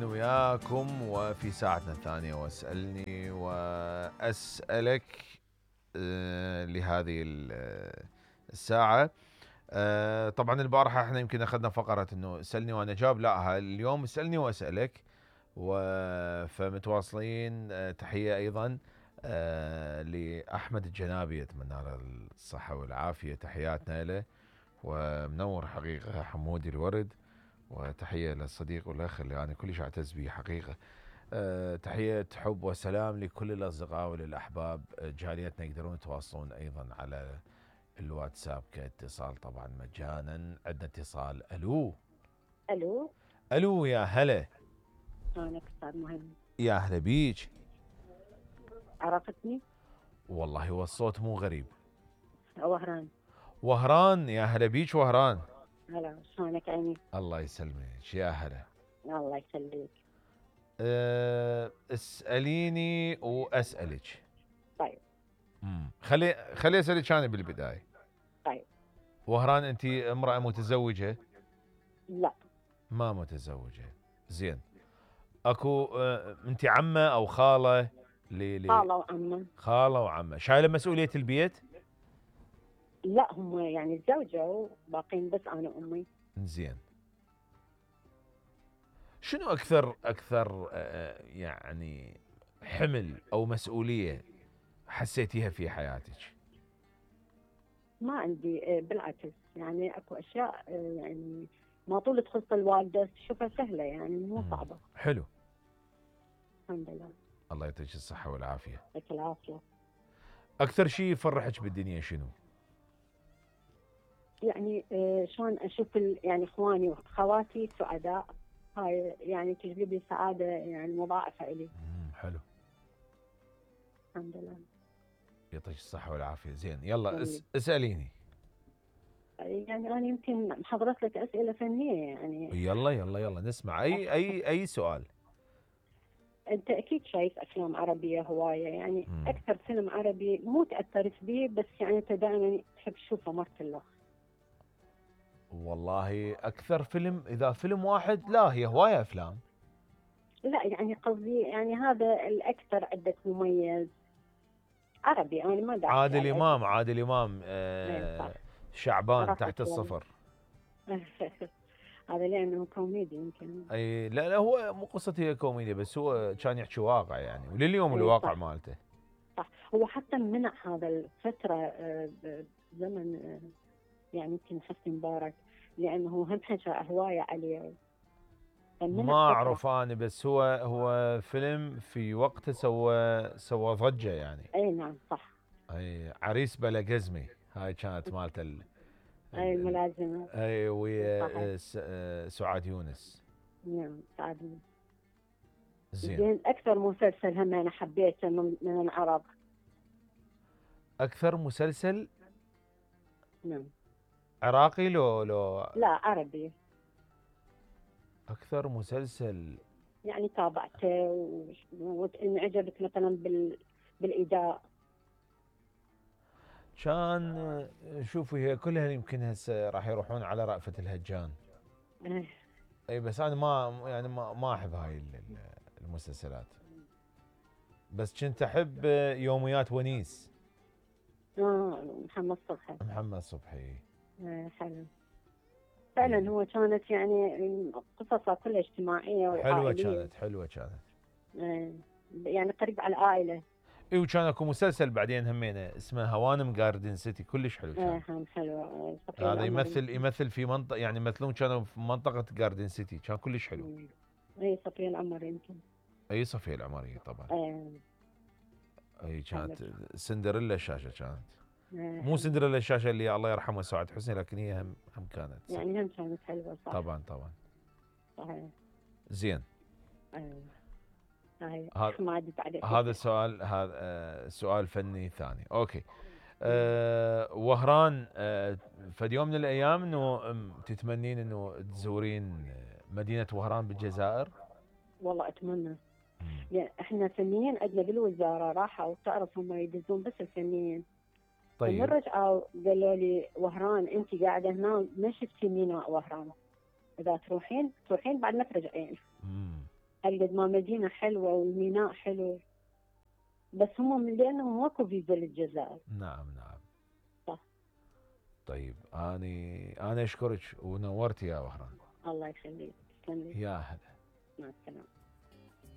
وياكم وفي ساعتنا الثانية واسألني وأسألك لهذه الساعة. طبعا البارحة احنا يمكن اخذنا فقرة انه اسألني وانا اجاوب، لا اليوم اسألني واسألك فمتواصلين. تحية ايضا لأحمد الجنابي، اتمنى له الصحة والعافية، تحياتنا له ومنور حقيقة حمودي الورد، وتحية للصديق والأخ اللي أنا كلش أعتز به حقيقة. تحية حب وسلام لكل الأصدقاء وللأحباب. جاليتنا يقدرون يتواصلون أيضا على الواتساب كاتصال طبعا مجانا. عندنا اتصال. ألو الو ألو، يا هلا. شلونك استاذ مهم؟ يا هلا بيج. عرفتني؟ والله هو الصوت مو غريب. وهران. وهران، يا هلا بيج وهران. هلا، شلونك عيني؟ الله يسلمك، يا هلا. الله يخليك. اسأليني وأسألك. طيب. خلي أسألك أنا بالبداية. طيب. وهران، أنت امرأة متزوجة؟ لا. ما متزوجة. زين. اكو أنت عمة أو خالة؟ خالة وعمة. خالة وعمة. شايلة مسؤولية البيت؟ لا، هم يعني تزوجوا وباقين بس أنا وأمي. زين. شنو أكثر يعني حمل أو مسؤولية حسيتيها في حياتك؟ ما عندي، بالعكس يعني أكو أشياء يعني ما طول تخص الوالدة تشوفها سهلة، يعني مو صعبة. حلو. الحمد لله. الله يعطيك الصحة والعافية. يعطيك العافية. أكثر شيء يفرحك بالدنيا شنو؟ يعني شلون أشوف يعني إخواني وأخواتي سعداء، هاي يعني تجلب لي سعادة يعني مضاعفة إلي. حلو. الحمد لله. يعطيك الصحة والعافية. زين، يلا اسأليني. يعني أنا يمكن حضرت لك أسئلة فنية يعني. يلا نسمع أي سؤال. أنت أكيد شايف أفلام عربية هواية، يعني أكثر فيلم عربي مو تأثرت به بس يعني أنت دائما تحب تشوفه مرة. والله أكثر فيلم، إذا فيلم واحد لا، هي هواية أفلام. لا يعني قصدي يعني هذا الأكثر عندك مميز عربي. أنا ما داعي. عادل إمام. شعبان تحت الصفر. هذا لأنه كوميدي يمكن. اي لا هو مو قصة هي كوميديا، بس هو كان يحكي واقع يعني، ولليوم الواقع صح. مالته. صح. هو حتى منع هذا الفترة زمن يعني يمكن حسني مبارك، لأنه هم حكى هواية عليه. ما أعرف أنا، بس هو فيلم في وقته سوى ضجة يعني. أي نعم صح. أي عريس بلا قزمي، هاي كانت مالته أي الملازمة. أي ويا سعاد يونس. نعم سعاد يونس. زين. أكثر مسلسل هم أنا حبيته من العرب. أكثر مسلسل؟ نعم. عراقي لا عربي. أكثر مسلسل يعني تابعته وانعجبت مثلا بالإداء. كان شوفي هي كلها يمكن هسه راح يروحون على رأفت الهجان. اي بس انا ما احب هاي المسلسلات، بس كنت احب يوميات ونيس. محمد صبحي. حلو فعلا. هو كانت يعني قصصها كلها اجتماعية وعائلية. حلوة كانت. يعني قريب على العائلة. اي وكان اكو مسلسل بعدين همينه اسمه هوانم جاردن سيتي، كلش حلو كان. حلو. هذا يمثل في منطقة، يعني يمثلون كانوا في منطقة جاردن سيتي، كان كلش حلو. اي صفية العمر يمكن. اي صفية العمرية طبعا. اي كانت سندريلا الشاشة كانت. مو سندريلا الشاشة اللي الله يرحمه سعاد حسني، لكن هي هم كانت يعني هم كانت حلوة. صح طبعا. صحيح. زين. هذا السؤال هذا سؤال فني ثاني. اوكي. وهران، فد يوم من الايام انه تتمنين انه تزورين مدينة وهران بالجزائر؟ والله اتمنى. يعني احنا فنيين عندنا بالوزارة راحوا وتعرف هم يدزون بس الفنيين. طيب. من رجعوا قالوا لي وهران انت قاعدة هنا ما شفتي ميناء وهران، اذا تروحين بعد ما ترجعين. قد ما مدينة حلوة والميناء حلو، بس هم لأنه ماكو فيزا للجزائر. نعم نعم. صح. طيب أنا أشكرك ونورتي يا وهران. الله يخليك. تسلم لي. يا هلا. مع السلامة.